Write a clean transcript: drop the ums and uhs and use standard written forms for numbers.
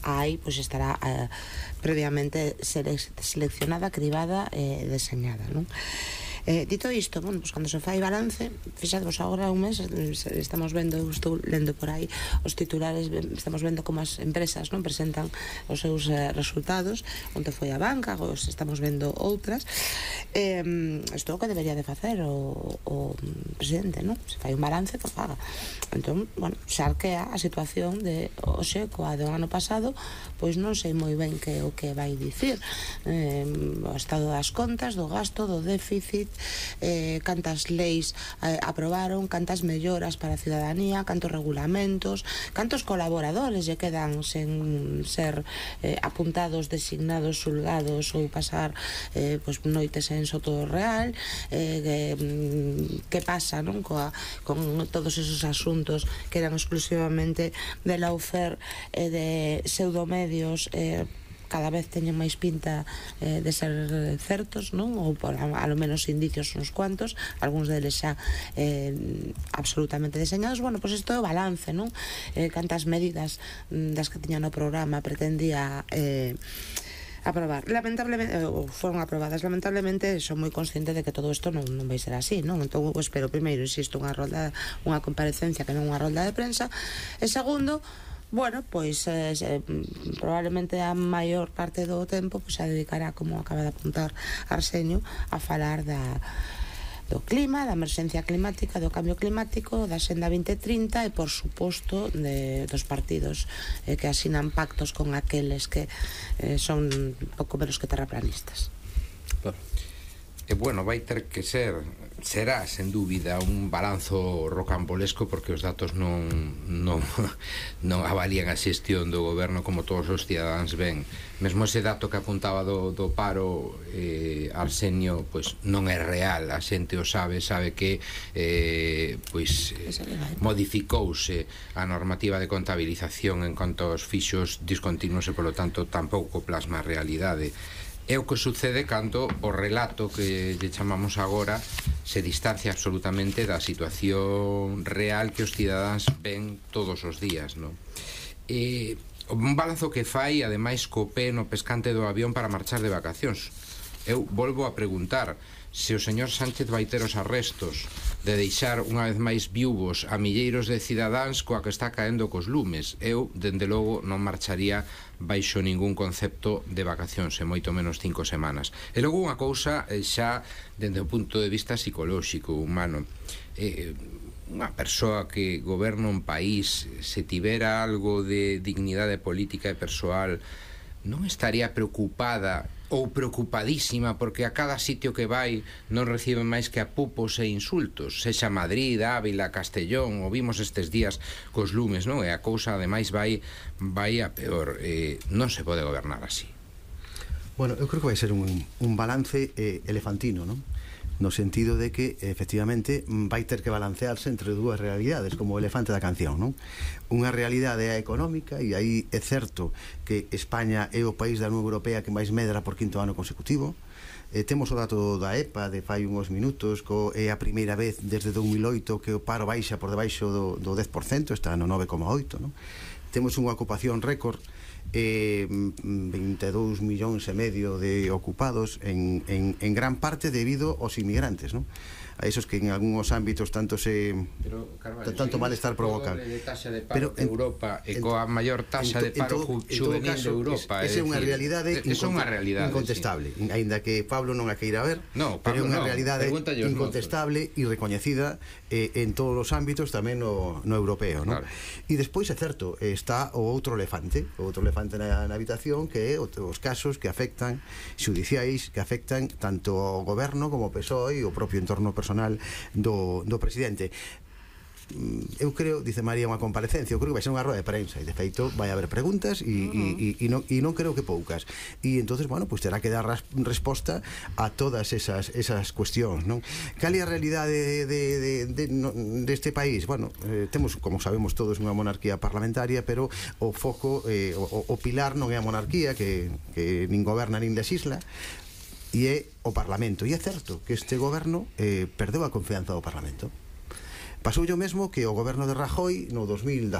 aí pois estará previamente seleccionada, cribada e deseñada, non? Dito isto, bueno, pues cando se fai balance, fixadvos agora un mes, estamos vendo, estou lendo por aí os titulares, estamos vendo como as empresas non presentan os seus resultados, onde foi a banca, os estamos vendo outras. Isto é o que debería de facer o presidente, non? Se fai un balance, que faga. Entón, bueno, xa arquea a situación de hoxe coa do ano pasado, pois non sei moi ben que o que vai dicir, o estado das contas, do gasto, do déficit, cantas leis aprobaron, cantas melloras para a ciudadanía, cantos regulamentos, cantos colaboradores lle quedan sen ser apuntados, designados, xulgados ou pasar pois noites en Soto Real, que pasa, non, con todos esos asuntos que eran exclusivamente de Lawfare e de pseudomedios, cada vez teñen máis pinta de ser certos, non? Ou por a lo menos indicios uns cuantos, algúns deles xa absolutamente deseñados. Bueno, pois isto é o balance, non? Cantas medidas das que tiña no programa pretendía aprobar. Lamentablemente, foron aprobadas. Lamentablemente, son moi consciente de que todo isto non vai ser así, non? Entón, espero, primeiro, insisto, unha comparecencia que non unha rolda de prensa, e segundo, bueno, pois probablemente a maior parte do tempo pois se dedicará, como acaba de apuntar Arsenio, a falar do clima, da emerxencia climática, do cambio climático, da Xenda 2030 e, por suposto, dos partidos que asinan pactos con aqueles que son pouco menos que terraplanistas. E bueno, vai ter que será sen dúbida un balanzo rocambolesco, porque os datos non avalían a xestión do goberno como todos os cidadáns ven. Mesmo ese dato que apuntaba do paro, Arsenio, pois non é real, a xente o sabe que pois modificouse a normativa de contabilización en canto aos fixos discontinuos e, polo tanto, tampouco plasma a realidade. É o que sucede cando o relato que lle chamamos agora se distancia absolutamente da situación real que os cidadáns ven todos os días, non? Un balanzo que fai, ademais, co pé no pescante do avión para marchar de vacacións. Eu volvo a preguntar se o señor Sánchez vai ter os arrestos de deixar unha vez máis viúvos a milleiros de cidadáns coa que está caendo cos lumes. Eu, dende logo, non marcharía baixo ningún concepto de vacacións, e moito menos 5 semanas. E logo unha cousa xa dende o punto de vista psicolóxico, humano. Unha persoa que goberna un país, se tivera algo de dignidade política e persoal, non estaría preocupada ou preocupadísima porque a cada sitio que vai non recibe máis que apupos e insultos, sexa Madrid, Ávila, Castellón, o vimos estes días cos lumes, non? E a cousa ademais vai a peor. Non se pode gobernar así. Bueno, eu creo que vai ser un balance elefantino, non? No sentido de que, efectivamente, vai ter que balancearse entre dúas realidades, como o elefante da canción, non? Unha realidade é a económica, e aí é certo que España é o país da Unión Europea que máis medra por 5º ano consecutivo. Temos o dato da EPA de fai uns minutos, é a primeira vez desde 2008 que o paro baixa por debaixo do 10%, está no 9,8%, non? Temos unha ocupación récord, 22 millóns e medio de ocupados, en gran parte debido aos inmigrantes, non? A esos que en algúns ámbitos tanto malestar provocan. Pero en Europa e coa maior taxa de paro juvenil de Europa, esa é unha realidade incontestable, aínda que Pablo non a queira ver, pero é unha realidade incontestable e recoñecida en todos os ámbitos, tamén no europeo, non? E despois é certo, está o outro elefante na habitación, que é os casos que afectan xudiciais, que afectan tanto ao goberno como ao PSOE e o propio entorno personal do presidente. Eu creo, dice María, unha comparecencia, eu creo que vai ser unha roda de prensa, e de feito vai haber preguntas e non creo que poucas, e entonces, bueno, pues terá que dar resposta a todas esas cuestións, non? Cal é a realidade deste país? Bueno, temos, como sabemos todos, unha monarquía parlamentaria, pero o foco, o pilar non é a monarquía, que nin goberna nin legisla, e é o Parlamento. E é certo que este goberno perdeu a confianza do Parlamento. Pasou o mesmo que o goberno de Rajoy no 2018.